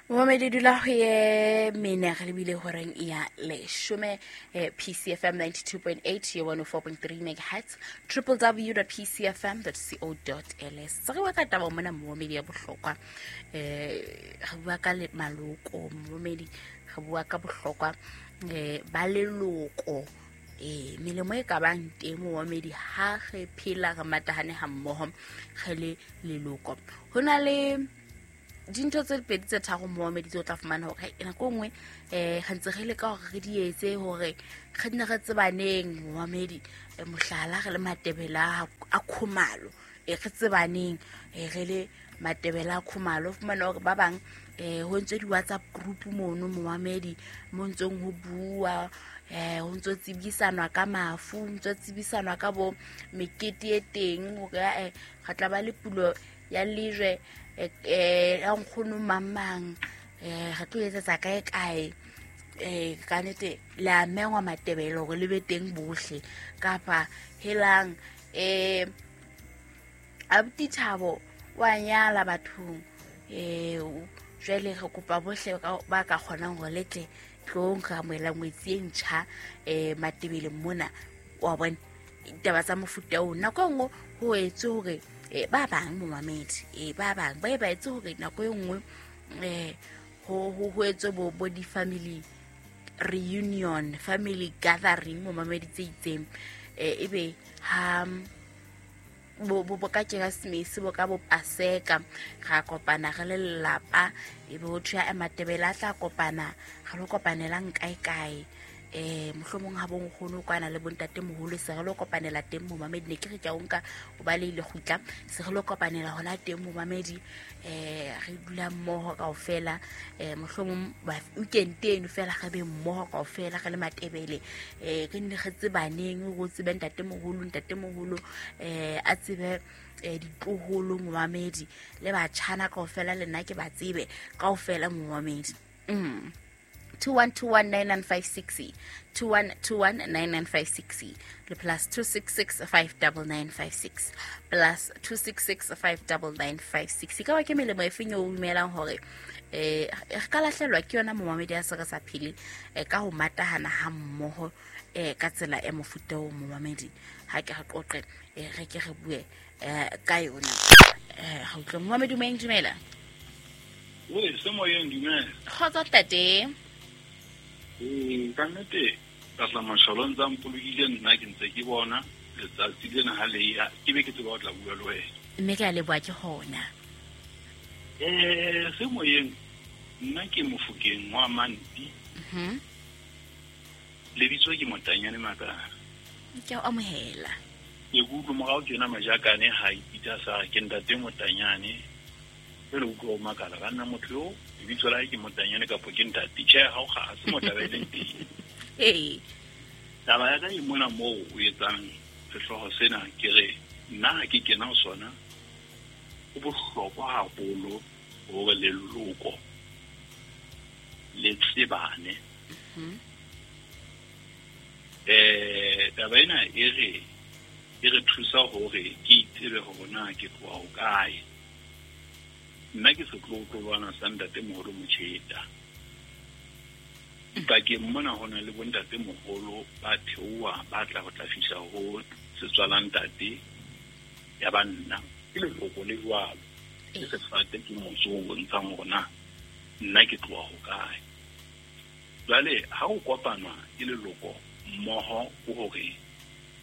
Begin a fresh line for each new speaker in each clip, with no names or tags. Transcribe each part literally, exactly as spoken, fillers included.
Momamedi dula ho ye mene re lebile horeng ya leshome eh, P C F M ninety-two point eight ye one oh four point three megahertz w w w dot p c f m dot co dot l s. Re bua ka taba mona momamedi ya bohlokwa, eh re bua ka le maloko momamedi, re bua ka bohlokwa eh ba leloko eh melemo e ka bang teng momamedi ha re phela re matahane ha mmoho re le leloko. Ho na le dintho tse pedi tse tharo momamedi tse o tla fumana hore nako e nngwe eh re ntse re leka hore re di etse hore re nne re tsebaneng momamedi, mohlala re le Matebele a Khumalo, e re tsebaneng re le Matebele a Khumalo. Fumana hore ba bang eh ho ntse di WhatsApp group mono momamedi mo ntseng ho bua eh ho ntse tsebisanwa ka mafu, ntse tsebisanwa ka bo mekete e teng hore eh re tla ba le pulo ya lejwe eh ya nkgono mamang eh re tlo etsetsa kae kae eh ka nete le a mengwa Matebele hore le be teng bohle kapa helang eh abuti Thabo wa nyala bathong eh jwale re kopa bohle ba ka kgonang hore le tle tlong re amohela ngwetsi e ntjha eh Matebele mona wa bona ditaba tsa mofuta oo. Nako e nngwe ho etswe hore eh ba bang momamedi eh ba bang ba e ba etse hore nako e nngwe eh ho ho etswe bo bo di family reunion, family gathering momamedi tse itseng eh ebe ha bo bo ka Keresemese bo ka bo Paseka ra kopana re le lelapa ebe ho thwe a Matebele a tla kopana re lo kopanelang kae kae eh mohlomong ha bonkgono kwana le bontate moholo se re lo kopanela teng momamedi. Ne ke re ke a nka o ba le ile kgutla se re lo kopanela hona teng momamedi eh re dula mmoho kaofela eh mohlomong weekend eno fela re be mmoho kaofela re le Matebele eh re nne re tsebaneng go tsebe ntate moholo ntate moholo eh a tsebe eh ditloholo momamedi le batjhana kaofela le nna ke ba tsebe kaofela momamedi. Mm two one two one nine nine five six two one two one nine nine five six le plus two six six five nine nine five six plus two six six five nine nine five six. Ka wa ke melemo e feng o dumelang hore eh re ka lahlelwa ke yona momamedi a se re sa phele ka ho matahana ha mmoho eh ka tsela e mofuta o momamedi ha ke re qoqe re ke re bue ka yona. Eh ha utlwe momamedi mo dumela.
We se moyeng dumela.
Kgotso tate.
Ee, ka nnete ka tla mashalo ntse a mpolokile nna ke ntse ke bona letsatsi lena ha le ya ke be ke tseba ho tla bua le wena.
Mme ke a leboha ke hona.
Eh se moyeng nna ke Mofokeng wa Manti.
Mhm.
Lebitso ke Motanyane Makala.
Ke a amohela.
Ke kutlwa morao tjena majakane ha ipitsa sa ke ntate Motanyane. Jwale utlwa o makala ka nna motho yo lebitso la hae ke Motanyane kapa ke ntate. Tjhe, ha o kga se motaba e leng teng.
Ee.
Taba ya ka e mona moo o etsang sehlooho sena ke re nna ha ke kena ho sona ho bohlokwa haholo hore leloko le tsebane.
Mhm.
Eh taba ena e re e re thusa hore ke itsebe hore na ke tloha ho kae. Nna ke setlotlolwana sa ntate moholo Motjheta. Pakeng mona ho na le bontate moholo ba theoha ba tla ho tla fihla ho setswala ntate ya banna. Ke leloko le jwalo. Ke sefate ke motso o bontshang hore na nna ke tloha ho kae. Jwale ha ho kopanwa ke leloko mmoho ke hore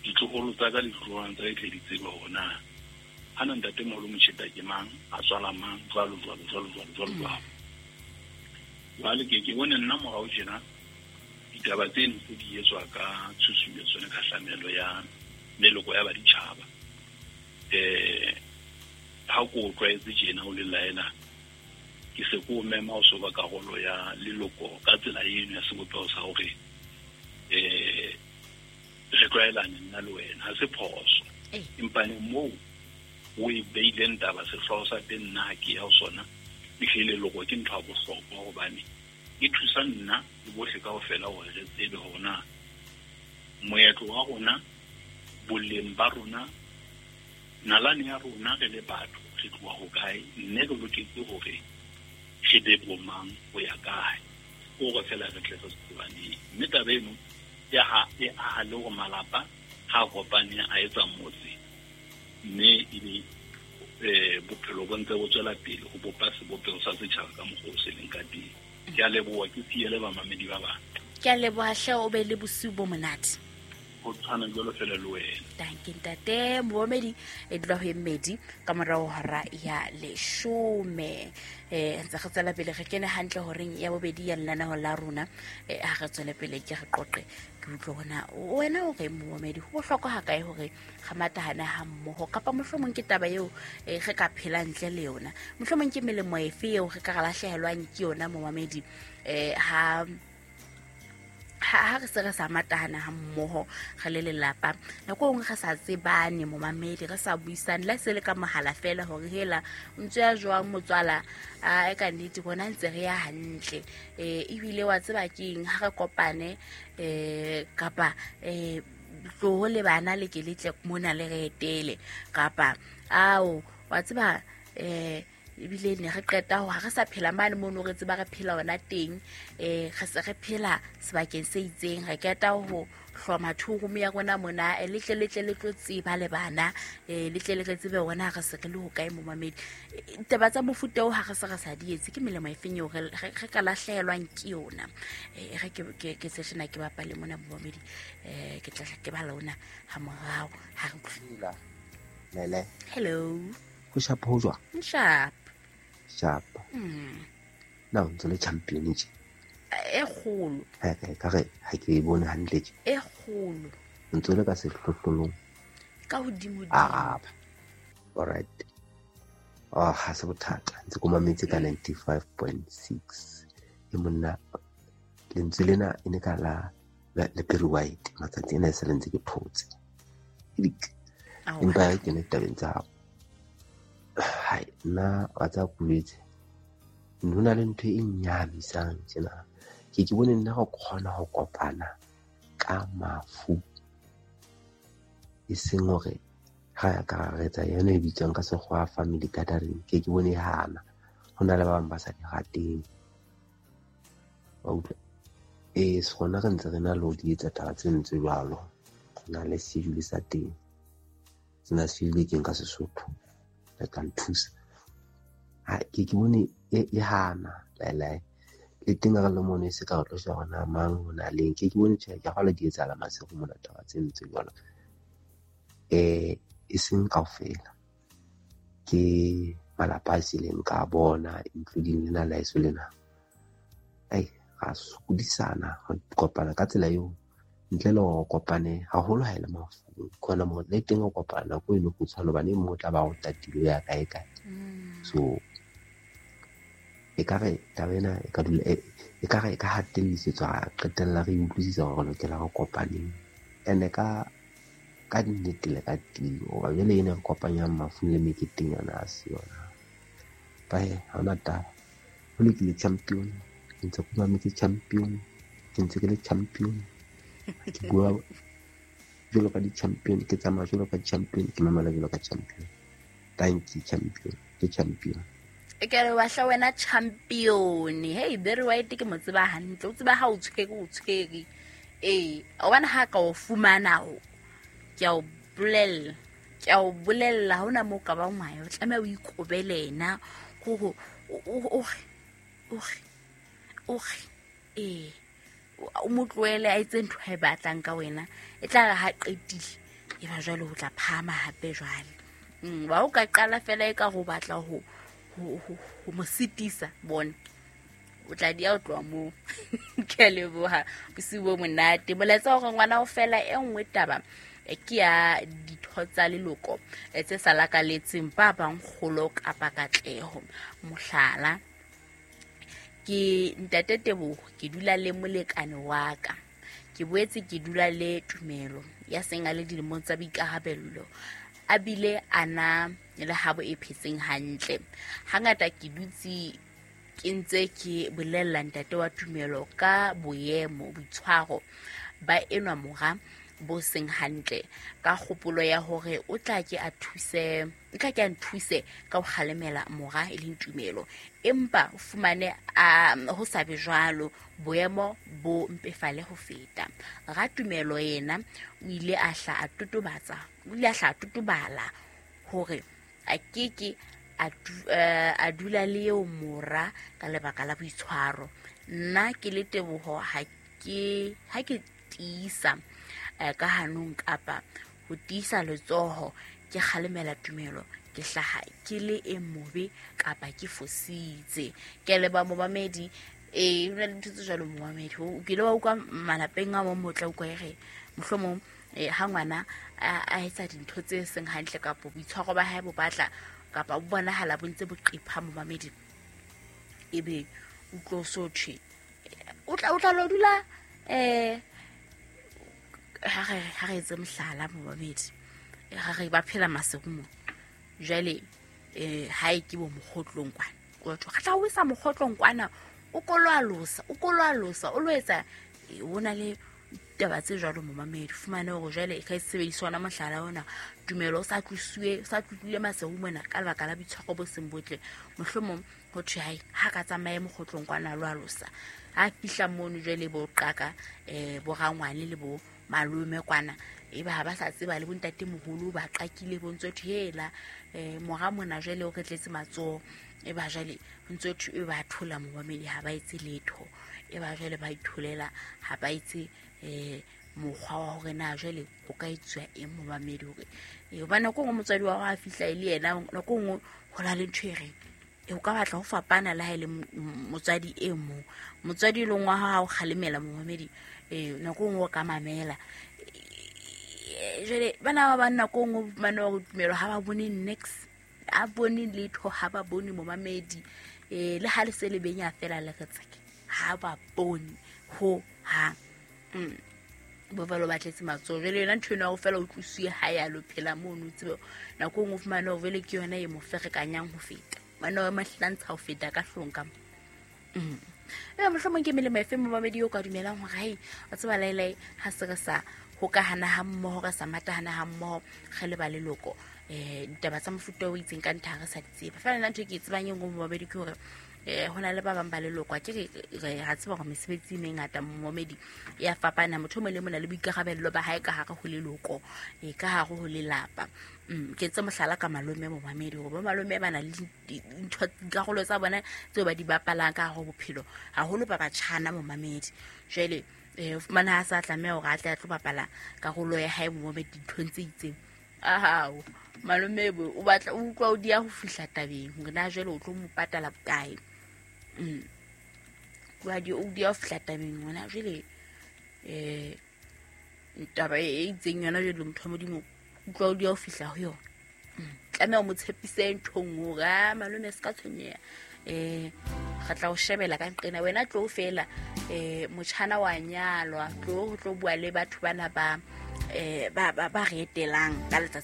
ditloholo tsa ka le ditloholwana tsa ka di tle di tsebe hore na hana ntate moholo Motjheta ke mang, a tswala mang, jwalo jwalo jwalo jwalo jwalo jwalo. Jwale ke ke bone nna morao tjena ditaba tseno tse di etswa ka tshusumetso le kgahlamelo ya meloko ya baditjhaba. Eh ha ko o tlwaetse tjena o le laela ke se ko mema o so ba karolo ya leloko ka tsela eno ya sebopeho sa hore eh re tlwaelane nna le wena ha se phoso. Empa ne moo o e beileng taba sehlooho sa teng nna ha ke ya ho sona ehlile leloko ke ntho ya bohlokwa hobane e thusa nna le bohle kaofela hore re tsebe hore na moetlo wa rona, boleng ba rona, nalane ya rona re le batho re tloha ho kae, mme re loketse hore re be bomang ho ya kae o re fela re tle re tsebaneng mme taba eno ya ha e aha le hore malapa ha kopane a etsa motse mme ebe eh bophelo bo ntse bo tswela pele ho bopa sebopeho sa setjhaba ka mokgwa o se leng ka teng. Ke a leboha, ke siele bamamedi ba bang.
Ke a leboha hle, o be le bosiu bo monate.
Ho tshwana jwalo fela le wena.
Danke ntate momedi e dula ho mmedi ka morao hora ya leshome. Eh ntse re tswela pele re kene hantle horeng ya bobedi ya lenaneo la rona. Eh ha re tswele pele ke re qoqe ke utlwe hona wena o re momedi ho bohlokwa ha kae hore re matahane ha mmoho kapa mohlomong ke taba eo re ka phela ntle le yona, mohlomong ke melemo efe eo re ka re lahlehelwang ke yona momamedi eh ha ha re se re sa matahana ha mmoho re le lelapa. Nako nngwe re sa tsebane momamedi, re sa buisane la se le ka mohala fela hore hela o ntse ya jwang motswala, a e ka nnete bona ntse re ya hantle eh ebile wa tseba keng ha re kopane eh kapa eh tloho le bana le ke letle mona le re etele kapa ao wa tseba eh ebile ne re qeta ho ha re sa phela mane mono re tseba re phela ona teng eh re se re phela sebakeng se itseng, re qeta ho hloma two room ya rona mona le tle le tle le tlo tseba le bana eh le tle le re tsebe hona re se re le ho kae momamedi. Taba tsa mofuta o ha re se re sa di etse ke melemo efeng eo re re ka lahlehelwang ke yona. Eh re ke ke ke seshena ke bapale mona momamedi eh ke tla ke ba lona ha morao ha re
utlwila. Lele.
Hello.
Ho sharp ho jwang?
Sharp.
Sharp.
Mm.
Na o ntse le champion tje?
E kgolo.
Ha ka ka re ha ke e bone hantle tje.
E kgolo.
O ntse le ka sehlohlolong.
Ka hodimo dimo.
Ah. All right. Ah, ha se bothata. Ntse ko mametse ka ninety-five point six. E monna lentswe lena e ne ka la le Perry White matsatsi ena e se le ntse ke thotse. Empa ke ne tabeng tsa hao. Hai, nna wa tsa kuletse. Ho na le ntho e nnyamisang tjena. Ke ke bone nna go kgona ho kopana ka mafu. E seng hore ha ya ka re etsa yona e bitswang ka sekgowa family gathering. Ke ke bone hana. Ho na le ba bang ba sa di rateng. Wa utlwa? Eh, rona re ntse re na le ho di etsa taba tse ntse jwalo. Ho na le schedule sa teng. Sena schedule keng ka Sesotho. Le tla nthusa. Ha ke ke bone e e hana laelae. Le teng re le mono e se ka re tlo sheba hore na mang ho na leng. Ke ke bone tjhe ke kgolwa di etsahala masigo mona taba tse ntse jwalo. Eh e seng kaofela. Ke malapa a sileng ka bona including lena la eso lena. Ai ra sokodisana re kopana ka tsela eo ntle le hore kopane haholo ha e le mafu. Khona mo le teng o kopana nako e le kgutshwane hobane e mong o tla ba o tatile ya kae kae. So e ka re taba ena e ka dula e ka re e ka hatellisetswa qetella re utlwisisa hore re lokela re kopaneng. Ene ka ka nnete le ka tiyo hoba jwale ena re kopanyang mafu le meketeng yona ha se yona. Bae ha hona taba. Ho lokile champion, ke ntse ke mametse champion, ke ntse ke le champion. Ke bua jwalo ka di-champion, ke tsamaya jwalo ka champion, ke mamela jwalo ka champion. Thank you champion, ke champion.
E ke re wa hla wena champion. Hey Barry White ke mo tseba hantle, o tseba ha o tshwere o tshwere. Eh, o bona ha ka o fumana o ke a o bolella, ke a o bolella ha hona moo ka bang wa ya, o tlameha o ikobele yena hore o o o eh o mo tlohele a etse ntho a e batlang ka wena, e tla re ha qetile e ba jwale ho tla phahama hape jwale. Mm, wa o ka qala fela e ka go batla ho ho ho mo sitisa bona o tla di a o tloha moo. Ke a leboha bosiu bo monate. Molaetsa hore ngwana o fela e nngwe taba ke ya ditho tsa leloko tse sa lakaletseng ba bang kgolo kapa katleho. Mohlala, ke ntate Teboho, ke dula le molekane wa ka. Ke boetse ke dula le Tumelo ya seng a le dilemong tsa boikarabello, a bile a na le habo e phetseng hantle. Hangata ke dutse ke ntse ke bolella ntate wa Tumelo ka boemo, boitshwaro ba enwa mora bo seng hantle ka kgopolo ya hore o tla ke a thuse o tla ke a nthuse ka ho kgalemela mora e leng Tumelo empa o fumane a ho sa be jwalo boemo bo mpefale ho feta. Ratumelo yena o ile a hla a totobatsa o ile a hla a totobala hore a keke a dula le eo mora ka lebaka la boitshwaro. Nna ke le Teboho ha ke ha ke tiisa ka hanong kapa ho tiisa letsoho ke kgalemela Tumelo ke hlaha ke le e mobe kapa ke fositse. Ke leba momamedi eh hona le ntho tse jwalo momamedi o kile wa utlwa malapeng a mong motla utlwa e re mohlomong ha ngwana a etsa dintho tse seng hantle kapa boitshwaro ba hae bo batla kapa bo bonahala bo ntse bo qepha momamedi ebe o tlo so thwe o tla o tla lo dula eh ha re ha re etse mohlala momamedi ha re ba phela Maseru mo jwale eh ha e ke bo mokgotlong kwana o tho tla o isa mokgotlong kwana o kolwalosa o kolwalosa o lo etsa o na le taba tse jwalo momamedi fumane hore jwale e ka sebediswa ona mohlala ona Tumelo o sa tlusuwe sa tlutlile Maseru mona ka lebaka la boitshwaro bo seng botle mohlomong ho thwe hai ha ka tsamaye mokgotlong kwana lo alosa ha fihla mono jwale bo qaka eh bo rangwane le bo malome kwana e ba ha ba sa tseba le bontate moholo ba qakile bo ntse thwe hela eh mora mona jwale o re tletse matsoho e ba jwale ntse thwe e ba thola momamedi ha ba etse letho e ba jwale ba itholela ha ba etse eh mokgwa wa hore na jwale o ka etswa eng momamedi hore e hobane nako nngwe motswadi wa hao a fihla e le yena nako nngwe ho na le ntho e reng e o ka batla ho fapana le ha e le motswadi e mong motswadi e leng wa hao ha o kgalemela momamedi eh nako nngwe o ka mamela jwale bana ba bang nako nngwe o fumane hore Tumelo ha ba bone niks a bone letho ha ba bone momamedi eh le ha le se le benya fela le re tseke ha ba bone ho hang. Mm. Bo ba lo batletse matsoho jwale yona ntho eno ya ho fela o tlusuwe ha ya lo phela mono o tsebe nako nngwe o fumane hore jwale ke yona e mo ferekanyang ho feta mane wa mahlantsha ho feta ka hlong ka mo. Mm. E mohlomong ke melemo efe momamedi o ka dumelang hore hai wa tseba laelae ha se re sa hokahana ha mmoho re sa matahana ha mmoho re le ba leloko eh ditaba tsa mofuta o itseng ka ntha re sa di tseba fela nna ntho e ke e tsebang e nngwe momamedi ke hore eh hona le ba bang ba leloko a ke re ra tseba hore mesebetsi e mengata momamedi ya fapana motho o mong le mong o na le boikarabello ba hae ka hare ho leloko e ka hare ho lelapa. Mm ke tse mohlala ka malome momamedi hore bo malome ba na le dintho dikarolo tsa bona tseo ba di bapalang ka hare ho bophelo haholo ba batjhana momamedi jwale eh o fumana ha sa tlameha hore a tle a tlo bapala karolo ya hae momamedi dinthong tse itseng ahao malome bo o batla o utlwa o dia ho fihla tabeng hore na jwale o tlo mo patala bokae. Mm wa di o dia ho fihla tabeng hona jwale eh taba e itseng yona jwale motho wa Modimo utlwa o dia ho fihla ho yona. Tlameha o mo tshepise nthong hore a malome se ka tshwenyeha eh re tla o shebela ka nqena wena tlo fela eh motjhana wa nyalwa tlo ho tlo bua le batho bana ba eh ba ba ba re etelang ka letsatsi